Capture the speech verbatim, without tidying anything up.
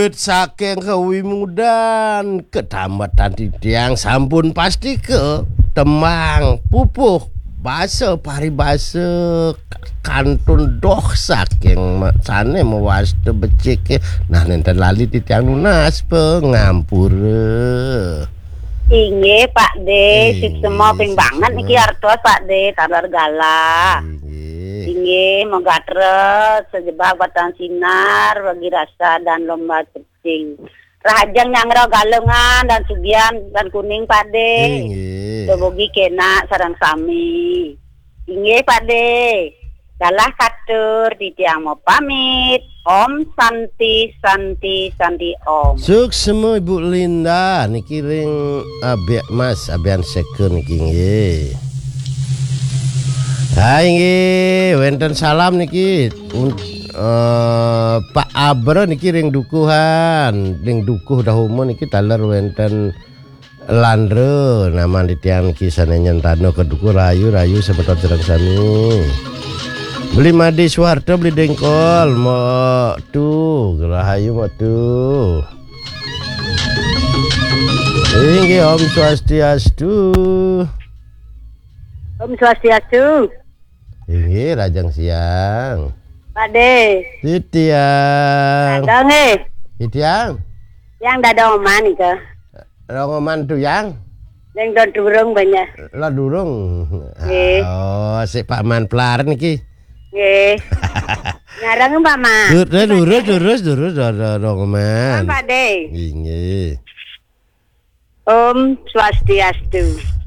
Saking kawimudan, ketamatan titiang sampun pasti ke tembang, pupuh, basa, paribasa, kantun doh saking ma-, sane mawasta becike. Nah, nenten lali titiang nunas pangampura. Inggih, Pak De, inggih, suksema ping banget suksema. Niki artos, Pak De, taler galah. Inggih. Inggih, moga terus sejebak batang sinar, bagi rasa dan lomba cecing. Rahajeng nyanggra Galungan dan Sugian dan Kuning, Pak De. Inggih. Dumogi kenak sareng sami. Inggih, Pak De. Galah katur, titiang mau pamit. Om Santi, Santi, Santi Om. Suksema Ibu Linda niki ring Abek Mas, Abian Seka niki nggih. Ha inggih, wenten salam niki. Un-, eh, Pak Abra niki ring Dukuhan, ring Dukuh Dahoma niki taler wenten Landra, naman titiang niki sane nyentana ka Dukuh. Rahayu, rahayu semeton sareng sami. Beli Madi Suharto, Beli Dengkol, Mok Tu, rahayu Mok Tu. Inggih, Om Swastiastu. Om Swastiastu. Inggih, rahajeng siang. Pak De. Titiang. Ada nggih. Titiang. Yang dadong man nika. Rongoman tu yang. Yang don durung banyak. Lah durung. Nggih. Oh, si Pak Man Plar niki. Nggih. Ngarang Pak Man. Dur-, dur-, durus, durus, durus, ro-, ro-, Rongoman. Pak De. Inggih. Om Swastiastu.